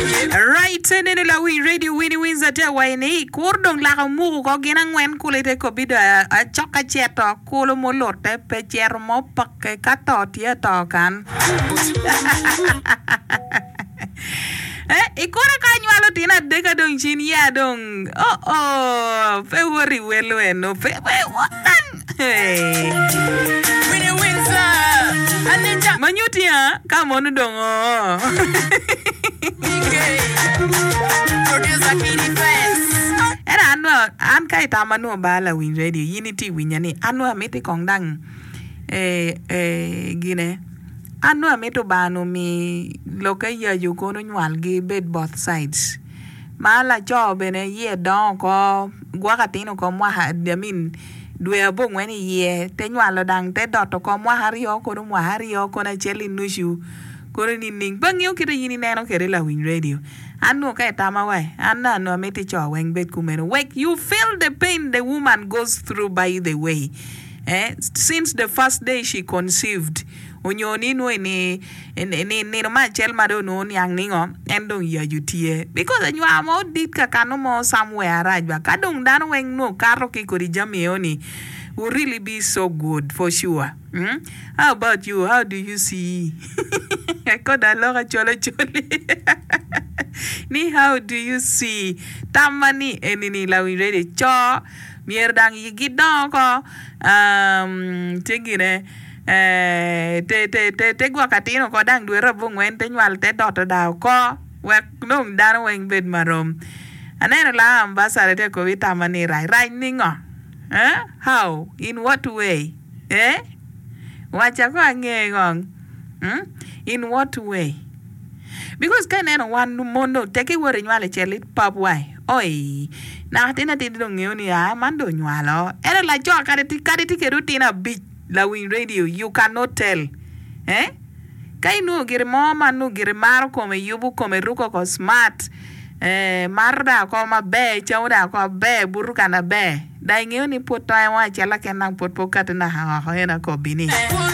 Right neno lawiny radio Winnie Windsor tye awayi ni kur dong laka omuku ko gin angwen kulu ite kobi do acok aceto kulu mulute pe ceto mo peke ka to tye ato kan. Eh, ikura ka anywalo tyen adeka dong cin ya dong oh oh pe wot i welo eno pe pe wot dang hey. Ma nyuti ya ka mono dong oo. Ento an nongo an ka itama nongo ba lawiny radio in itye winya ni an nongo amiti kong dang eh eh gine An nongo amito Lubanga omi lokke yaco kono onywalgi bed both sides ma laco bene iye dongo oko gwoko atin oko mwaka I mean dwe abongwen iye te nywalo dang te doto oko mwaka aryo kono mwaka aryo kono acel ki nucu kono nining pe angeyo kite in ineno kwede lawiny radio an nongo ka itama wa an nongo amiti co weng bed kumeno wek you feel the pain the woman goes through by the way. Eh, since the first day she conceived, onyo ni nwo ni nino me acel ma dong onongo oniang ni ngo, en dong yacu tye. Because anywar mo dit ka kano mo somewhere arac ba, ka dong dano weng nwo kato ki kodi jami eo ni, would really be so good for sure. Hmm? How about you, how do you see? Koda alok acol acoli ni how do you see? Tamma ni eni ni lawiny radio, co Myero dang gidong oko te gine te gwoko atin oko dang dwe abongwen te nywal te doto dang oko wek nong dano weng bed marom. Aneno laa ambassador tye ka kobo itama ni rac rac ningo? How? In what way? Eh? Waca kong ange kong. In what way? Because ka ineno wan mon dong tek iwoto inywalo icel ipap wai oi naka tin atidi dong ngeyo ni aa man dong onywalo ento laco kadi kadi tye kede otino abic lawiny radio you cannot tell eh ka inwongo gire mo ma nongo gire maro kome yubo kome ruko oko smart eh mato dok oko maber camo dok oko maber buto kana ber Dong ingeyo ni pwod tonge mo acel keken dok pwod pe okatti naka woko en akobbi ni,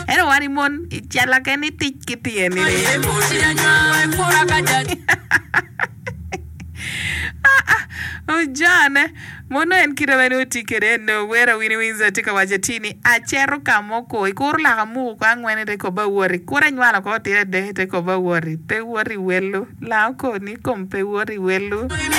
Ento wan i mon, i cella keken itic ki tyeni ni. Ojane, mono en kite ma nongo tye kwede eno, wera Winnie Windsor tye ka waco atir ni, Aceto ka mo ko, ikuro laka amuko ko angwen ite kobba awoti, kuro anywalo ko otire adek ite kobba awoti, pe woti welo, laa okoni kom pe woti welo.